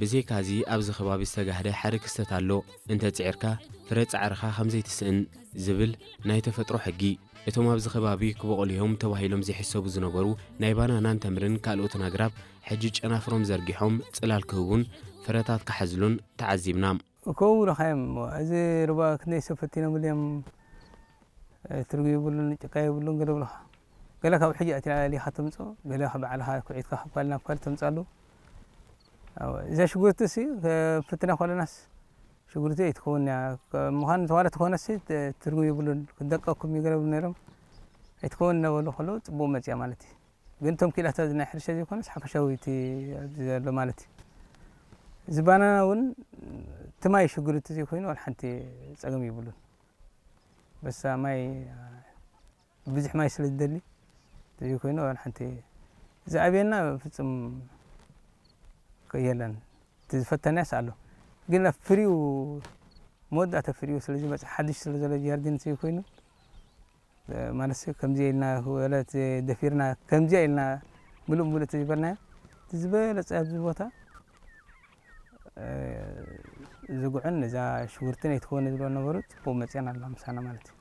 ብዘይካዚ ኣብዚ ከባቢ ዝተጋህደ ሓደ ክስተት ኣሎ። እንተ ጽዒርካ ፍረ ጻዕርኻ ከም ዘይትስእን ዝብል ናይ ተፈጥሮ ሕጊ። እቶም ኣብዚ ከባቢ ክበቑሉ እዮም ተባሂሎም ዘይሕሰቡ ዝነበሩ ናይ ባናናን ተምርን ካልኦትን ኣግራብ ሕጂ ጨናፍሮም ዘርጊሖም ጽላል ክህቡን ፍረታት ክሓዝሉን ተዓዚብና። እኮ ውረኻዮም። እዚ ሩባ ክንደይ ሰብ ፈቲኖምሉ እዮም። ትርጉ የብሉን፣ ጭቃ የብሉን፣ ገለ ብለኻ። ገለ ካብ ሕጂ ኣትያ ኣሊኻ ተምጽኦ፣ ገለ ካብ ባዕልኻ ኩዒትካ ካብ ኳል ናብ ኳል ተምጻሉ። እዛ ሽጉርቲ ሲ፣ ፈትና ኮለናስ ሽጉርቲ ኣይትኸውን እያ። ምዃን ተዋለ ተኾነሲ ትርጉ የብሉን። ክደቀኩም ይገረብ ነይሮም። ኣይትኸውን እናበሉ ከለዉ ጽቡቕ መጽያ ማለት እዩ። ግን እቶም ኪላታት ናይ ሕርሻ ዘይኮነስ ሓፈሻዊ እቲ ኣብዚ ዘሎ ማለት እዩ። እዚ ባናና እውን እቲ ማይ ሽጉርቲ ዘይኮይኑ ዋላ ሓንቲ ጸገም ይብሉን። በሳ ማይ፣ ብዙሕ ማይ ስለ ዝደሊ፣ ዘይኮይኑ ዋላ ሓንቲ ዝኣብየና ፍጹም የለን። እቲ ዝፈተናስ ኣሎ። ግን ኣብ ፍሪው፣ መወዳእታ ፍሪው ስለ ዝመጽእ፣ ሓድሽ ስለ ዘሎ ጃርዲን ዘይኮይኑ፣ ማለት ከምዚ ኢልና ወለት ደፊርና፣ ከምዚ ኢልና ምሉእ ምሉእ ተዝበልናዮ፣ እቲ ዝበለጸ ኣብዚ ቦታ፣ እ፣ ዝጉዕን እዛ ሽጉርትን ኣይትኸውን ዝብሎ ነበሩ፣ ጽቡቕ መጽያን ኣሎ ምሳና ማለት እዩ።